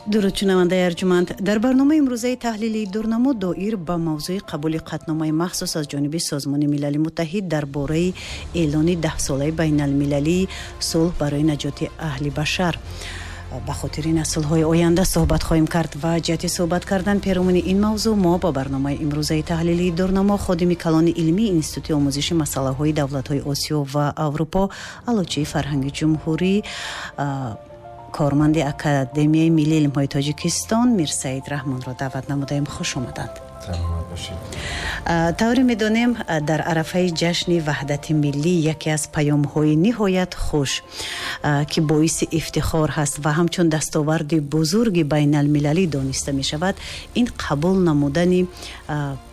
Дуруд, шунавандаи арҷуманд. Дар барномаи имрӯзаи таҳлилии Дурнамо доир ба мавзӯи қабули қатъномаи махсус аз ҷониби Созмони Милали Муттаҳид дар бораи эълони даҳсолаи байналмилалии сулҳ барои наҷоти аҳли башар ба хотири наслҳои оянда суҳбат хоҳем кард ва ҷиҳати суҳбат кардан перомуни ин мавзӯъ мо ба барномаи имрӯзаи таҳлилии Дурнамо ходими калони илмии Институти омӯзиши масъалаҳои давлатҳои Осиё ва Аврупо, Аълочии фарҳанги ҷумҳурӣ, корманди Академияи миллии илмҳои Тоҷикистон Мирсаид Раҳмонро даъват намудаем. Хуш омаданд. Саломат бошед. Тавре медонем, дар арафаи ҷашни ваҳдати миллӣ яке аз паёмҳои ниҳоят хуш, ки боиси ифтихор ҳаст ва ҳамчун дастоварди бузурги байналмилалӣ дониста мешавад, ин қабул намудани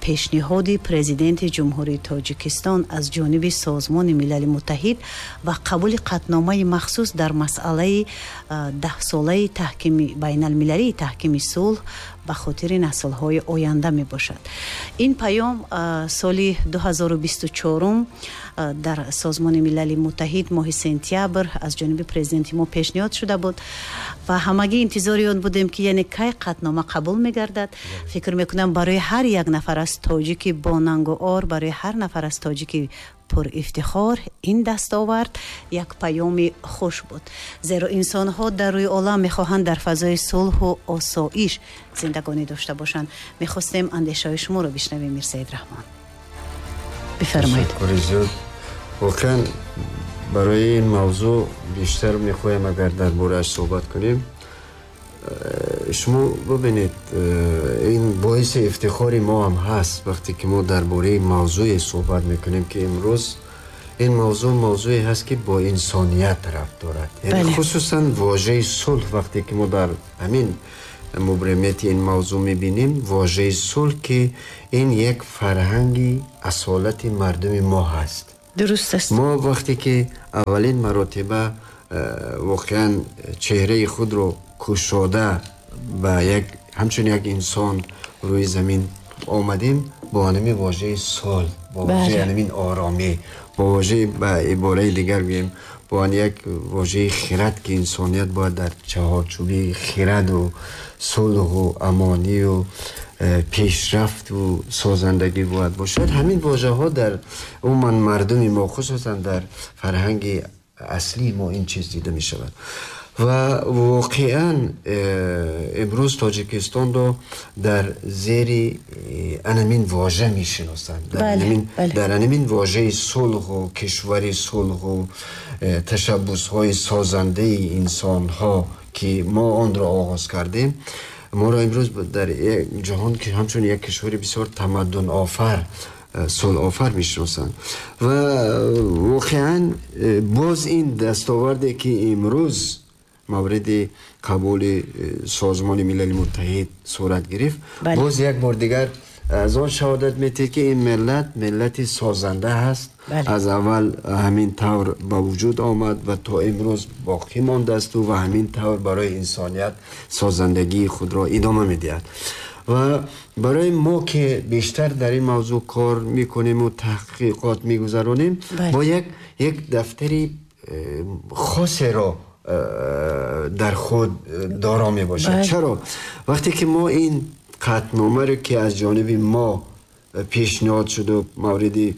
пешниҳоди Президенти Ҷумҳурии Тоҷикистон аз ҷониби Созмони Милали Муттаҳид ва қабули қатъномаи махсус дар масъалаи даҳсолаи таҳкими байналмилалии таҳкими сулҳ ба хотири наслҳои оянда мебошад. Ин паём соли 2024 дар Созмони Милали Муттаҳид моҳи сентябр аз ҷониби президенти мо пешниҳод шуда буд ва ҳамагӣ интизори он будем, ки яъне кай қатънома қабул мегардад. Фикр мекунам, барои ҳар як нафар аз тоҷики бонангу ор, барои ҳар нафар аз тоҷики пурифтихор ин дастовард як паёми хуш буд, зеро инсонҳо дар рӯи олам мехоҳанд дар фазои сулҳу осоиш зиндагонӣ дошта бошанд. Мехостем андешаҳои шуморо бишнавем, Мирсаид Раҳмон, бифармоед. Ташаккури зиёд. Воқеан, барои ин мавзӯъ бештар мехоҳем, агар дар борааш суҳбат кунем. Шумо бибинед, ин боиси ифтихори мо ҳам ҳаст, вақте ки мо дар бораи мавзӯе суҳбат мекунем, ки имрӯз ин мавзӯъ мавзӯе ҳаст, ки бо инсоният рабт дорад, яъне хусусан вожаи сулҳ. Вақте ки мо дар ҳамин мубрамияти ин мавзӯъ мебинем вожаи сулҳ, ки ин як фарҳанги асолати мардуми мо ҳаст. Дуруст аст. Мо вақте ки аввалин маротиба воқеан чеҳраи худро кушода ба як ҳамчун як инсон рӯи замин омадем, бо ҳамин вожаи сулҳ, бо вожаи ҳамин оромӣ, бо вожаи, ба ибораи дигар гӯем, бо як вожаи хирад, ки инсоният бояд дар чаҳорчӯби хираду сулҳу амонию пешрафту созандагӣ бояд бошад. Ҳамин вожаҳо дар умуман мардуми мо, хусусан дар фарҳанги аслии мо ин чиз дида мешавад. Ва воқеан имрӯз Тоҷикистонро дар зери анамин вожа мешиносанд, дар анамин вожаи сулҳу кишвари сулҳу ташаббусҳои созандаи инсонҳо, ки мо онро оғоз кардем. Моро имрӯз дар ҷаҳон ҳамчун як кишвари бисёр тамаддунофар, сулҳофар мешиносанд. Ва воқеан боз ин дастоварде, ки имрӯз мавриди қабули Созмони Милали Муттаҳид сурат гирифт, боз як бор дигар аз он шаҳодат медиҳад, ки ин миллат миллати созанда ҳаст. Аз аввал ҳамин тавр ба вуҷуд омад ва то имрӯз боқӣ мондасту ва ҳамин тавр барои инсоният созандагии худро идома медиҳад. Ва барои мо, ки бештар дар ин мавзӯъ кор мекунему таҳқиқот мегузаронем, бо як дафтари хосеро дар худ доро мебошад. Чаро? Вақте ки мо ин қатъномаро, ки аз ҷониби мо пешниҳод шуду мавриди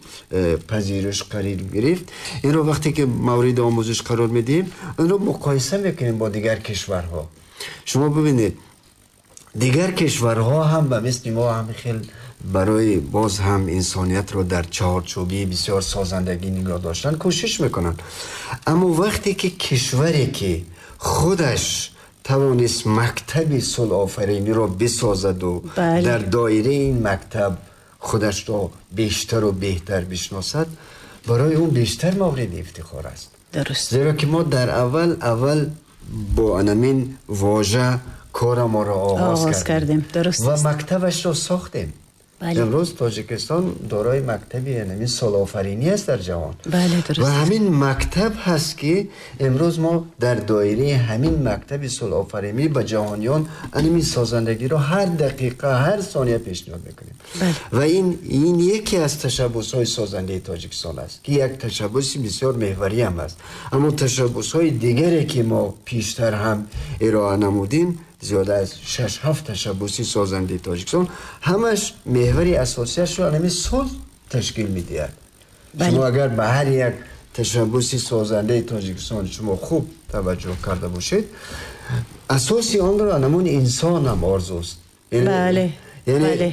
пазириш қарор гирифт, инро вақте ки мавриди омӯзиш қарор медиҳем, инро муқоиса мекунем бо дигар кишварҳо, шумо бибинед, дигар кишварҳо ҳам ба мисли мо ҳам хел барои боз ҳам инсониятро дар чаҳорчӯбии бисёр созандагӣ нигоҳ доштан кӯшиш мекунанд. Аммо вақте ки кишваре, ки худаш тавонист мактаби сулҳофариниро бисозаду дар доираи ин мактаб худашро бештару беҳтар бишносад, барои ӯ бештар мавриди ифтихор аст. Зеро ки мо дар аввал бо анамин вожа кораморо оғоз кардем ва мактабашро сохтем. Имрӯз Тоҷикистон дорои мактаби ҳамин сулҳофаринӣ аст дар ҷаҳон. Ва ҳамин мактаб ҳаст, ки имрӯз мо дар доираи ҳамин мактаби сулҳофаринӣ ба ҷаҳониён ҳамин созандагиро ҳар дақиқа, ҳар сония пешниҳод мекунем. Ва ин яке аз ташаббусҳои созандаи Тоҷикистон аст, ки як ташаббуси бисёр меҳварӣ ҳам аст. Аммо ташаббусҳои дигаре, ки мо пештар ҳам ироа намудем, зиёда аз 6-7 ташаббуси созандаи Тоҷикистон ҳамаш меҳвари асосияшро ҳамин сулҳ ташкил медиҳад. Шумо агар ба ҳар як ташаббуси созандаи Тоҷикистон шумо хуб таваҷҷӯҳ карда бошед, асоси онро ҳамон инсон ҳам орзуст. Яъне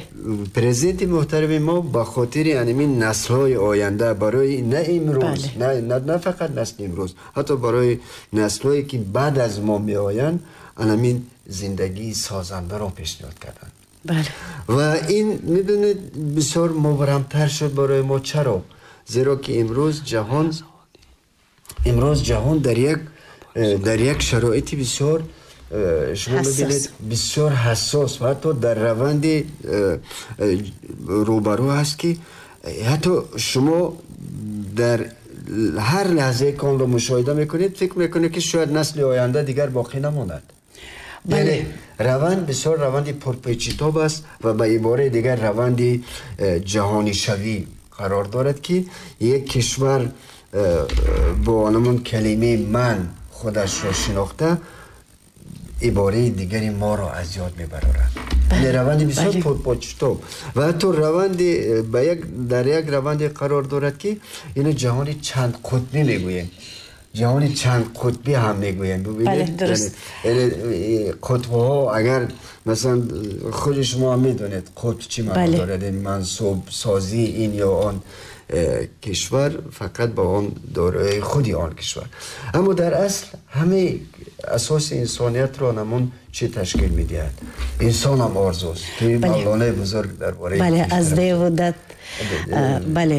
президенти муҳтарами мо ба хотири ҳамин наслҳои оянда, барои на имрӯз, на фақат насли имрӯз, ҳатто барои наслҳое ки баъд аз мо меоянд, ҳамин зиндагии созандаро пешниҳод карданд. Ва ин медонед бисёр мубрамтар шуд барои мо. Чаро? Зеро ки имрӯз ҷаҳон дар як шароити бисёр шумо мебинед бисёр ҳассос ва ҳатто дар раванди рӯбарӯ ҳаст ки ҳатто шумо дар ҳар лаҳзае ки онро мушоҳида мекунед, фикр мекунед ки шояд насли оянда дигар боқӣ намонад. Яъне раванд бисёр раванди пурпечитоб аст ва ба ибораи дигар раванди ҷаҳонишавӣ қарор дорад ки як кишвар бо ҳамон калимаи ман худашро шинохта ибораи дигари моро аз ёд мебарорад. Раванди бисёр пурпечитоб ва ҳатто раванди дар як раванде қарор дорад ки ино ҷаҳони чандқутбӣ мегӯем. ҷаҳони чандқутбӣ ҳам мегӯем. Бубинед, қутбҳо агар масалан худи шумо ҳам медонед қутб чӣ маъно дорад, мансубсозии ин ё он кишвар фақат ба он дорои худи он кишвар. Аммо дар асл ҳамаи асоси инсониятро ҳамон чӣ ташкил медиҳад? Инсон ҳам орзуст ки Мавлонаи бузург дар бораи бале аз деву дат бале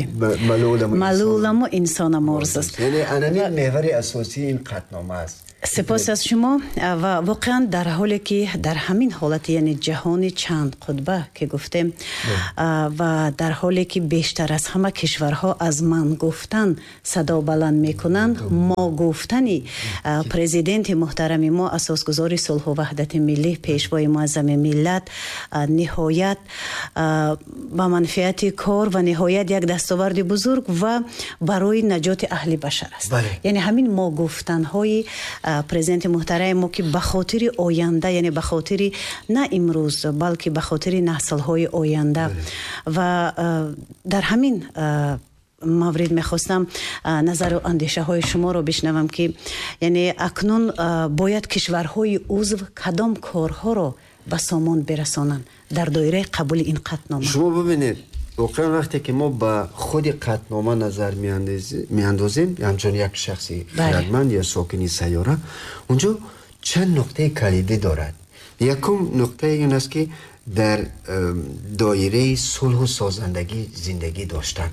малуламу инсонам орзуст. Яъне ҳамин меҳвари асосии ин қатънома аст. Сипос аз шумо. Ва воқеан дар ҳоле ки дар ҳамин ҳолати, яъне ҷаҳони чанд қутба ки гуфтем, ва дар ҳоле ки бештар аз ҳама кишварҳо аз ман гуфтан садо баланд мекунанд, мо гуфтани президенти муҳтарами мо, асосгузори сулҳу ваҳдати миллӣ, пешвои муаззами миллат, ниҳоят ба манфиати кор ва ниҳоят як дастоварди бузург ва барои наҷоти аҳли башар аст. Яъне ҳамин мо гуфтанҳои президенти муҳтарами мо ки ба хотири оянда, яъне ба хотири на имрӯз, балки ба хотири наслҳои оянда. Ва дар ҳамин маврид мехостам назару андешаҳои шуморо бишнавам ки яъне акнун бояд кишварҳои узв кадом корҳоро ба сомон бирасонанд дар доираи қабули ин қатънома. Шумо бибинед, воқеан вақте ки мо ба худи қатънома назар меандозем, ҳамчун як шахси хирадманд ё сокини сайёра, унҷо чанд нуқтаи калидӣ дорад. Якум нуқтаи ин аст ки дар доираи сулҳу созандагӣ зиндагӣ доштан.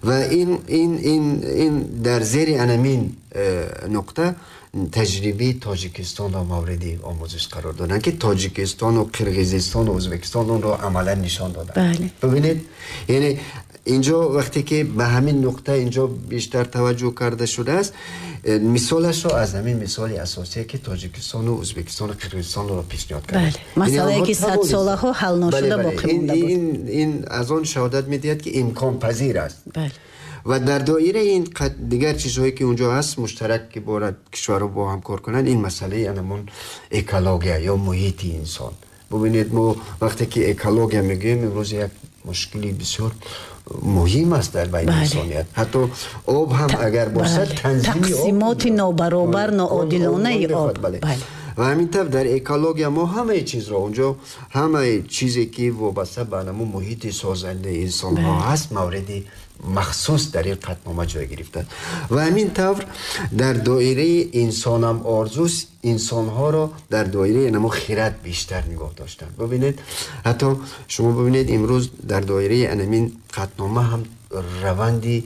Ва ин дар зери анамин нуқта таҷрибаи Тоҷикистонро мавриди омӯзиш қарор доданд ки Тоҷикистону Қирғизистону Ӯзбекистон онро амалан нишон доданд. Бибинед, яъне инҷо вақте ки ба ҳамин нуқта инҷо бештар таваҷҷӯҳ карда шудааст, мисолашро аз ҳамин мисоли асосие ки Тоҷикистону Ӯзбекистону Қирғизистонро пешниҳод карданд. Масъалае ки садсолаҳо ҳал нашуда боқӣ монда буд. Ин аз он шаҳодат медиҳад ки имконпазир аст. Ва дар доираи ин дигар чизҳое ки унҷо ҳаст муштарак ки борад кишварҳо бо ҳам кор кунанд, ин масъалаи анамон экология ё муҳити инсон. Бубинед, мо вақте ки экология мегӯем, имрӯз як мушкили бисёр муҳим аст дар байни инсоният. Ҳатто об ҳам агар бошад, танзими об, тақсимоти нобаробар, ноодилонаи об. Ва ҳамин тавр дар экология мо ҳамаи чизро унҷо, ҳамаи чизе ки вобаста ба анамон муҳити созандаи инсонҳо ҳаст, мавриди махсус дар ин қатънома ҷой гирифтааст. Ва ҳамин тавр дар доираи инсонам орзуст инсонҳоро дар доираи намо хирад бештар нигоҳ доштанд. Бубинед, ҳатто шумо бубинед имрӯз дар доираи анамин қатънома ҳам раванди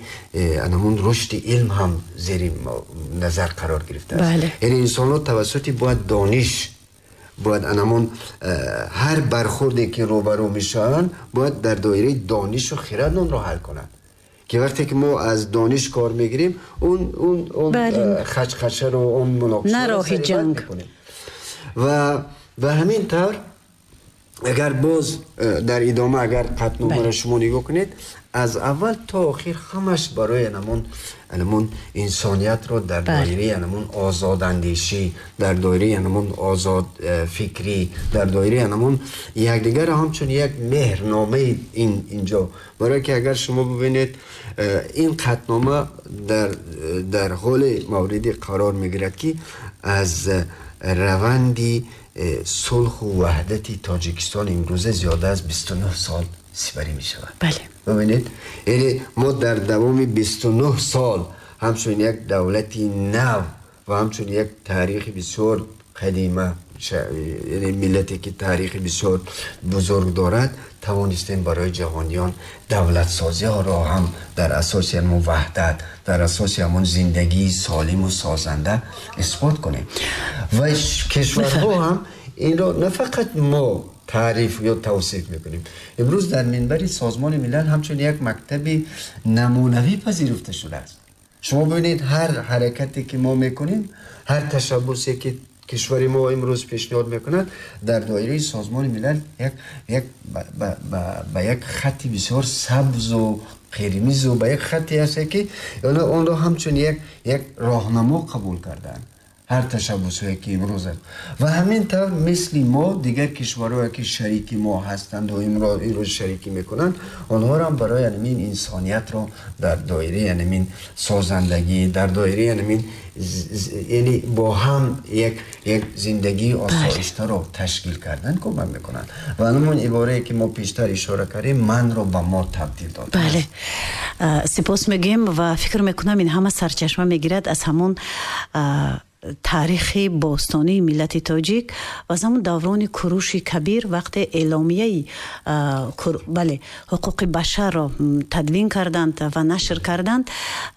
анамун рушди илм ҳам зери назар қарор гирифтааст. Яъне инсонҳо тавассути бояд дониш, бояд анамун ҳар бархурде ки рӯбарӯ мешаванд, бояд дар доираи донишу хирад онро ҳал кунанд. Ки вақте ки мо аз дониш кор мегирем, он хачхачаро, он муноқишаро на роҳи ҷанг. Ва ҳамин тавр Агар боз дар идома агар қатъномаро шумо нигоҳ кунед, аз аввал то охир ҳамаш барои анамон инсониятро дар доираи анамон озодандешӣ, дар доираи анамон озод фикрӣ, дар доираи анамон якдигарро ҳамчун як меҳрномаи инҷо. Барое ки агар шумо бибинед, ин қатънома дар ҳоли мавриди қарор мегирад, ки аз раванди сулҳу ваҳдати Тоҷикистон имрӯза зиёда аз 29 сол сипарӣ мешавад. Бибинед, яъне мо дар давоми 29 сол ҳамчун як давлати нав ва ҳамчун як таърихи бисёр қадима, яъне миллате ки таърихи бисёр бузург дорад, тавонистем барои ҷаҳониён давлатсозиҳоро ҳам дар асоси ҳамон ваҳдат, дар асоси ҳамон зиндагии солиму созанда исбот кунем. Ва кишварҳо ҳам инро на фақат мо таъриф ё тавсиф мекунем. Имрӯз дар минбари Созмони Милал ҳамчун як мактаби намунавӣ пазируфта шудааст. Шумо бибинед, ҳар ҳаракате ки мо мекунем, ҳар ташаббусе ки кишвари мо имрӯз пешниҳод мекунад, дар доираи Созмони Милал ба як хатти бисёр сабзу қирмизу ба як хатте ҳаст, ки онро ҳамчун як роҳнамо қабул карданд ҳар ташаббусҳое ки имрӯз аст. Ва ҳамин тавр мисли мо дигар кишварҳое ки шарики мо ҳастанд ва имрӯз шарикӣ мекунанд, онҳоро ҳам барои ҳамин инсониятро дар доираи ҳамин созандагӣ, дар доираи ҳамин, яъне бо ҳам як зиндагии осоиштаро ташкил кардан кӯмак мекунанд. Ва ҳамон иборае ки мо пештар ишора кардем, манро ба мо табдил дод. Бале, сипос мегӯем ва фикр мекунам ин ҳама сарчашма мегирад аз ҳамон таърихи бостонии миллати тоҷик ва аз ҳамон даврони Куруши Кабир, вақте эъломияи бале ҳуқуқи башарро тадвин карданд ва нашр карданд.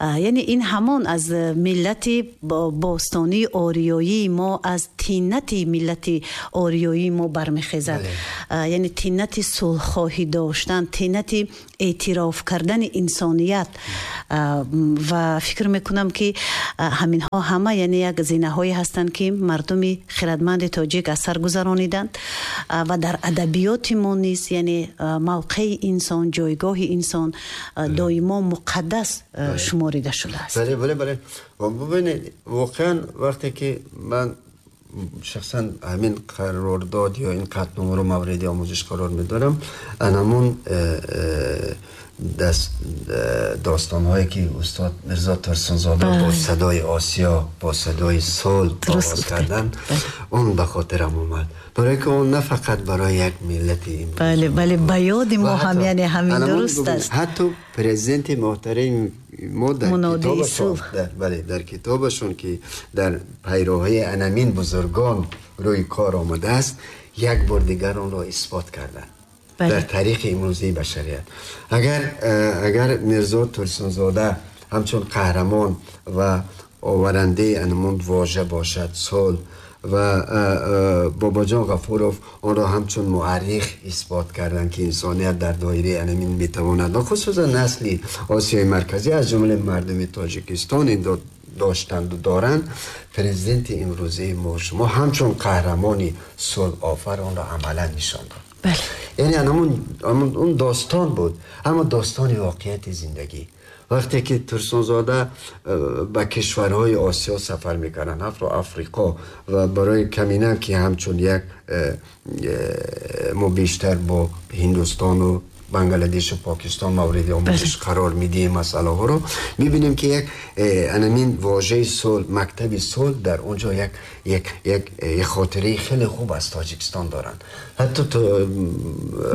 Яъне ин ҳамон аз миллати бостонии ориёии мо, аз тинати миллати ориёии мо бармехезад. Яъне тинати сулҳхоҳӣ доштан, тинати эътироф кардани инсоният. Ва фикр мекунам, ки ҳаминҳо ҳама яъне як зинаҳое ҳастанд, ки мардуми хирадманди тоҷик аз сар гузарониданд ва дар адабиёти мо низ, яъне мавқеи инсон, ҷойгоҳи инсон доимо муқаддас шуморида шудааст. Бале, бубинед, воқеан вақте ки ман шахсан ҳамин қарордод ё ин қатъномаро мавриди омӯзиш қарор медорам, анамон достонҳое ки устод Мирзо Турсунзода бо садои Осиё, бо садои сулҳ оғоз карданд, он ба хотирам омад, барое ки он на фақат барои як миллати имрӯз. Бале, ба ёди мо ҳам, яъне ҳамин дуруст аст. Ҳатто президенти муҳтарами мо дар китобашон, бале, дар китобашон, ки дар пайроҳаи анамин бузургон рӯи кор омадааст, як бор дигар онро исбот карданд дар таърихи имрӯзии башарият. Агар Мирзо Турсунзода ҳамчун қаҳрамон ва оварандаи анамон вожа бошад, сулҳ, ва Бобоҷон Ғафуров онро ҳамчун муаррих исбот карданд, ки инсоният дар доираи анамин метавонад ва хусусан насли Осиёи Марказӣ, аз ҷумлаи мардуми Тоҷикистон, инро доштанду доранд, президенти имрӯзаи мо шумо ҳамчун қаҳрамони сулҳофар онро амалан нишон дод. Яъне он достон буд, аммо достони воқеияти зиндагӣ. Вақте ки Турсунзода ба кишварҳои Осиё сафар мекарданд, ҳатто Африқо, ва барои камина ки ҳамчун як мо бештар бо Ҳиндустону Бангладешу Покистон мавриди омӯзиш қарор медиҳем масъалаҳоро, мебинем, ки як анамин вожаи сулҳ, мактаби сулҳ дар он ҷо як хотираи хеле хуб аз Тоҷикистон доранд, ҳатто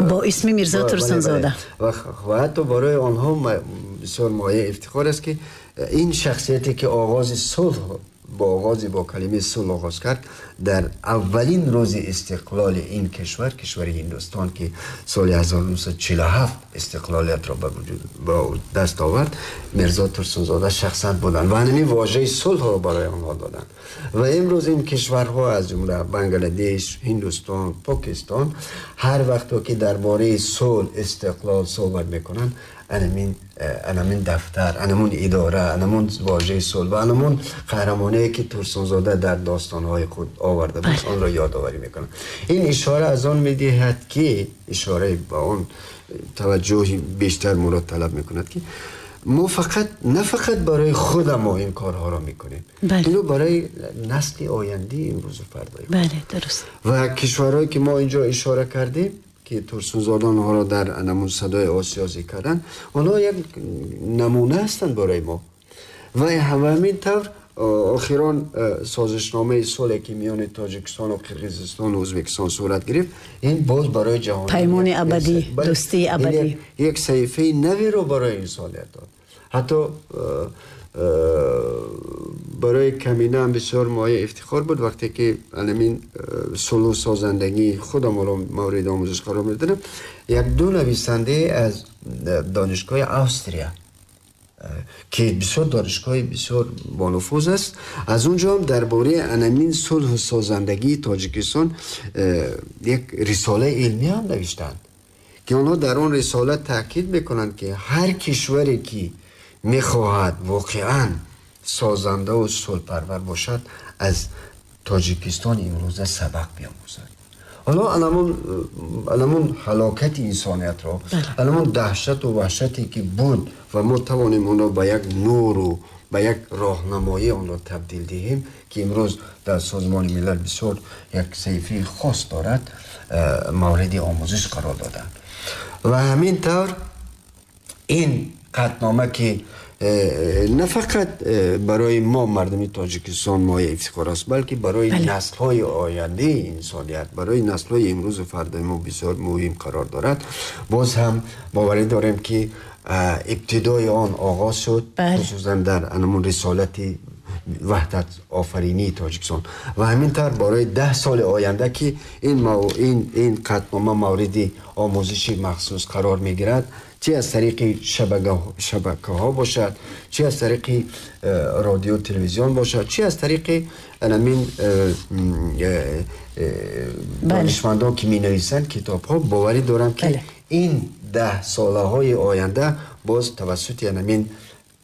бо исми Мирзо Турсунзода. Ва ҳатто барои онҳо бисёр мояи ифтихор аст, ки ин шахсияте ки оғози сулҳ бо оғози бо калимаи сулҳ оғоз кард, дар аввалин рӯзи истиқлоли ин кишвар, кишвари Ҳиндустон, ки соли 1947 истиқлолиятро ба вуҷуд ба даст овард, Мирзо Турсунзода шахсан буданд ва ҳамин вожаи сулҳро барои онҳо доданд. Ва имрӯз ин кишварҳо, аз ҷумла Бангладеш, Ҳиндустон, Покистон, ҳар вақто ки дар бораи сулҳ, истиқлол суҳбат мекунанд, анамин дафтар, анамун идора, анамун вожаи сулҳ ва анамун қаҳрамоние ки Турсунзода дар достонҳои худ оварда буд, онро ёдоварӣ мекунад. Ин ишора аз он медиҳад, ки ишораи ба он таваҷҷӯҳи бештар моро талаб мекунад, ки мо фақат на фақат барои худа мо ин корҳоро мекунем, инро барои насли ояндаи имрӯзу фардои. Бале, дуруст. Ва кишварҳое ки мо инҷо ишора кардем, ки Турсунзода онҳоро дар анамун Садои Осиё зикр карданд, онҳо як намуна ҳастанд барои мо. Ва ҳамин тавр охирон созишномаи сулҳе ки миёни Тоҷикистон ва Қирғизистон ва Ӯзбекистон сурат гирифт, ин боз барои ҷаҳон паймони абадӣ, дӯстии абадӣ, як саҳифаи наверо барои инсоният дод. Ҳатто барои камина ҳам бисёр мояи ифтихор буд, вақте ки анамин сулҳу созандагии худамонро мавриди омӯзиш қарор медодем, як ду нависанде аз донишгоҳи Австрия, ки бисёр донишгоҳи бисёр бонуфуз аст, аз он ҷо ҳам дар бораи анамин сулҳу созандагии Тоҷикистон як рисолаи илмӣ ҳам навиштанд, ки онҳо дар он рисола таъкид мекунанд, ки ҳар кишваре ки мехоҳад воқеан созанда ва сулҳпарвар бошад, аз Тоҷикистон имрӯза сабақ биомӯзад. Ҳоло анамун ҳалокати инсониятро, анамун даҳшату ваҳшате ки буд ва мо тавонем онро ба як нуру ба як роҳнамоӣ онро табдил диҳем, ки имрӯз дар Созмони Милал бисёр як саҳифаи хос дорад, мавриди омӯзиш қарор доданд. Ва ҳамин тавр ин қатънома ки на фақат барои мо мардуми Тоҷикистон мояи ифтихор аст, балки барои наслҳои ояндаи инсоният, барои наслҳои имрӯзу фардои мо бисёр муҳим қарор дорад. Боз ҳам боварӣ дорем, ки ибтидои он оғоз шуд, хусусан дар анамун рисолати ваҳдат офаринии Тоҷикистон ва ҳамин тавр барои 10 соли оянда, ки ин қатънома мавриди омӯзиши махсус қарор мегирад, чи аз тариқи шабакаҳо бошад, чи аз тариқи радио телевизион бошад, чи аз тариқи анамин донишмандон ки менависанд китобҳо, боварӣ дорам, ки ин 10 солаҳои оянда боз тавассути анамин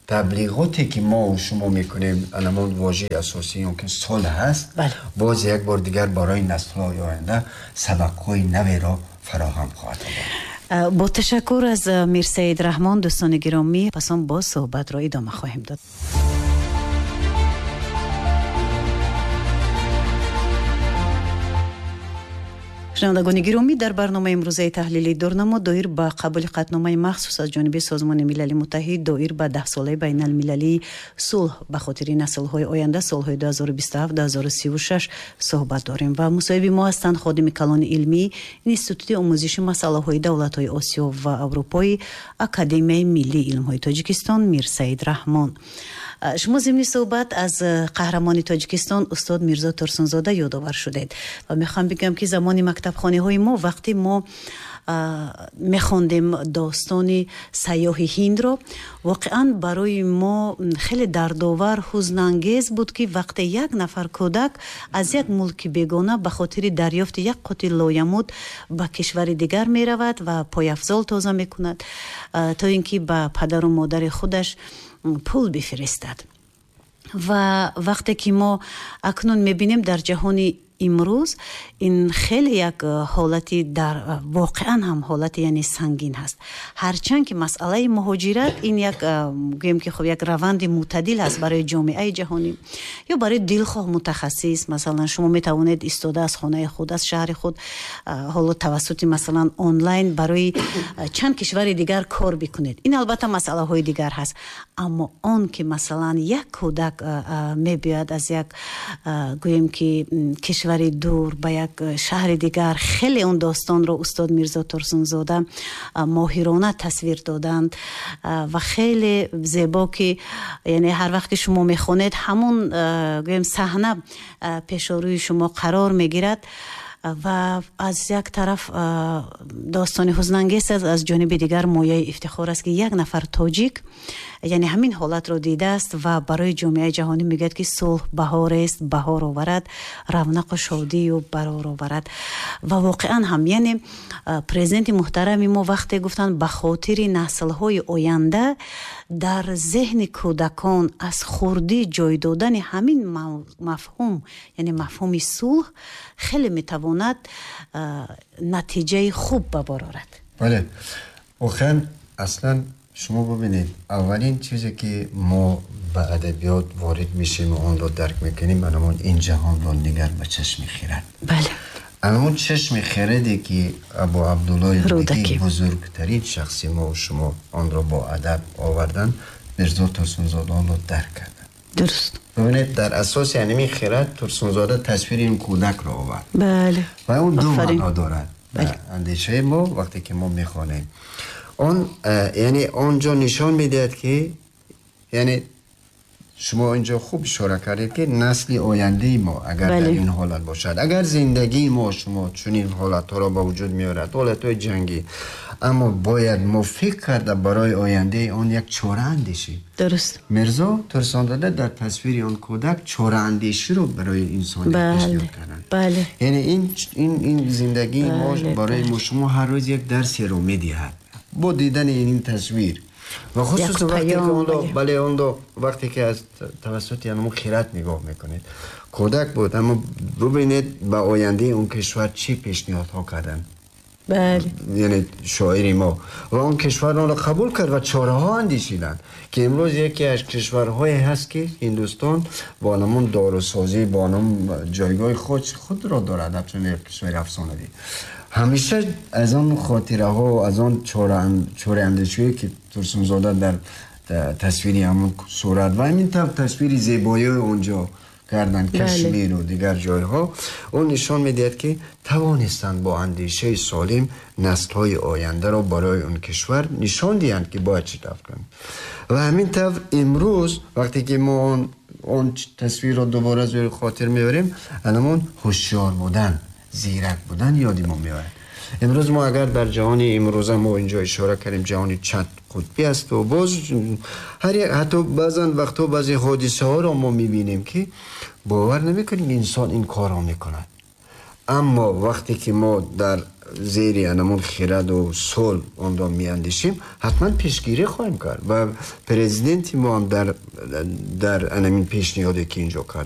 таблиғоте ки мо шумо мекунем, анамон вожаи асосии он ки сулҳ ҳаст, боз як бор дигар барои наслҳои оянда сабақҳои наверо фароҳам хоҳад овард. Бо ташаккур аз Мирсаид Раҳмон, дӯстони гиромӣ, пас он боз суҳбатро идома хоҳем дод. Шунавандагони гиромӣ, дар барномаи имрӯзаи таҳлили дурнамо доир ба қабули қатъномаи махсус аз ҷониби Созмони Милали Муттаҳид доир ба 10-солаи байналмилалии сулҳ ба хотири наслҳои оянда солҳои 2027-2036 суҳбат дорем ва мусоҳиби мо ҳастанд ходими калони илмӣ Институти омӯзиши масъалаҳои давлатҳои Осиё ва Аврупои Академияи миллии илмҳои Тоҷикистон Мирсаид Раҳмон. Шумо зимни суҳбат аз қаҳрамони Тоҷикистон устод Мирзо Турсунзода ёдовар шудед ва мехоҳам бигӯям, ки замони мактабхонаҳои мо, вақте мо мехондем достони сайёҳи ҳиндро, воқеан барои мо хеле дардовар, ҳузнангез буд, ки вақте як нафар кӯдак аз як мулки бегона ба хотири дарёфти як қути лоямуд ба кишвари дигар меравад ва пойафзол тоза мекунад, то ин ки ба падару модари худаш пул бифиристад. Ва вақте ки мо акнун мебинем дар ҷаҳони имрӯз, ин хеле як ҳолати дар воқеан ҳам ҳолати яъне сангин ҳаст. Ҳарчанд ки масъалаи муҳоҷират ин як, гӯем ки хуб, як раванди мӯътадил ҳаст барои ҷомеаи ҷаҳонӣ ё барои дилхоҳ мутахассис. Масалан, шумо метавонед истода аз хонаи худ, аз шаҳри худ, ҳоло тавассути масалан онлайн барои чанд кишвари дигар кор бикунед. Ин албатта масъалаҳои дигар ҳаст, аммо он ки масалан як кӯдак мебиёяд аз як, гӯем ки, кишвари дур ба як шаҳри дигар, хеле он достонро устод Мирзо Турсунзода моҳирона тасвир доданд ва хеле зебо, ки яъне ҳар вақт ки шумо мехонед, ҳамон, гӯем, саҳна пешорӯи шумо қарор мегирад. Ва аз як тараф достони ҳузнангез аст, аз ҷониби дигар мояи ифтихор аст, ки як нафар тоҷик, яъне ҳамин ҳолатро дидааст ва барои ҷомеаи ҷаҳонӣ мегӯяд, ки сулҳ баҳорест, баҳор оварад, равнақу шодию барор оварад. Ва воқеан ҳам, яъне президенти муҳтарами мо вақте гуфтанд, ба хотири наслҳои оянда дар зеҳни кӯдакон аз хурдӣ ҷой додани ҳамин мафҳум, яъне мафҳуми сулҳ, хеле метавонад натиҷаи хуб ба бор орад. Бале, воқеан, аслан шумо бубинед, аввалин чизе ки мо ба адабиёт ворид мешем ва онро дарк мекунем, анамон ин ҷаҳонро нигар ба чашми хирад. Анамон чашми хираде ки Абу Абдуллои Рӯдакӣ, бузургтарин шахси мо шумо, онро бо адаб овардан, Мирзо Турсунзода онро дарк карданд. Бубинед, дар асоси ҳамин хирад Турсунзода тасвири ин кӯдакро овард. Ва он ду маъно дорад. Андешаи мо, вақте ки мо мехонем он, яъне он ҷо нишон медиҳад, ки яъне шумо инҷо хуб ишора кардед, ки насли ояндаи мо агар дар ин ҳолат бошад, агар зиндагии мо шумо чунин ҳолатҳоро ба вуҷуд меорад, ҳолатҳои ҷангӣ, аммо бояд мо фикр карда барои ояндаи он як чора андешем. Мирзо Турсунзода дар тасвири он кӯдак чораандеширо барои инсоният пешниҳод карданд. Яъне ин зиндагии мо барои мо шумо ҳар рӯз як дарсеро медиҳад бо дидани ин тасвир ва хусусан вақте ки онро, бале, онро вақте ки аз тавассути ҳамон хирад нигоҳ мекунед, кӯдак буд, аммо бубинед, ба ояндаи он кишвар чӣ пешниҳодҳо карданд. Яъне шоири мо ва он кишвар онро қабул кард ва чораҳо андешиданд, ки имрӯз яке аз кишварҳое ҳаст, ки Ҳиндустон бо ҳамон дорусозӣ, бо ҳамон ҷойгоҳи худро дорад, ҳамчун як кишвари афсонавӣ. Ҳамеша аз он хотираҳо, аз он чораандешиҳое ки Турсунзода дар тасвири ҳамон сурат ва ҳамин тавр тасвири зебоиҳои онҷо карданд, Кашмиру дигар ҷойҳо, он нишон медиҳад, ки тавонистанд бо андешаи солим наслҳои ояндаро барои он кишвар нишон диҳанд, ки бояд чӣ тавр кунанд. Ва ҳамин тавр имрӯз вақте ки мо он тасвирро дубора зери хотир меорем, ҳамон ҳушёр будан, зирак будан ёди мо меояд. Имрӯз мо агар дар ҷаҳони имрӯза, мо инҷо ишора кардем, ҷаҳони чанд қутбӣ аст ва боз ҳар як, ҳатто баъзан вақтҳо баъзе ҳодисаҳоро мо мебинем, ки бовар намекунем инсон ин корро мекунад. Аммо вақте ки мо дар зери ҳамон хираду сулҳ онро меандешем, ҳатман пешгирӣ хоҳем кард ва президенти мо ҳам дар ҳамин пешниҳоде ки инҷо кард.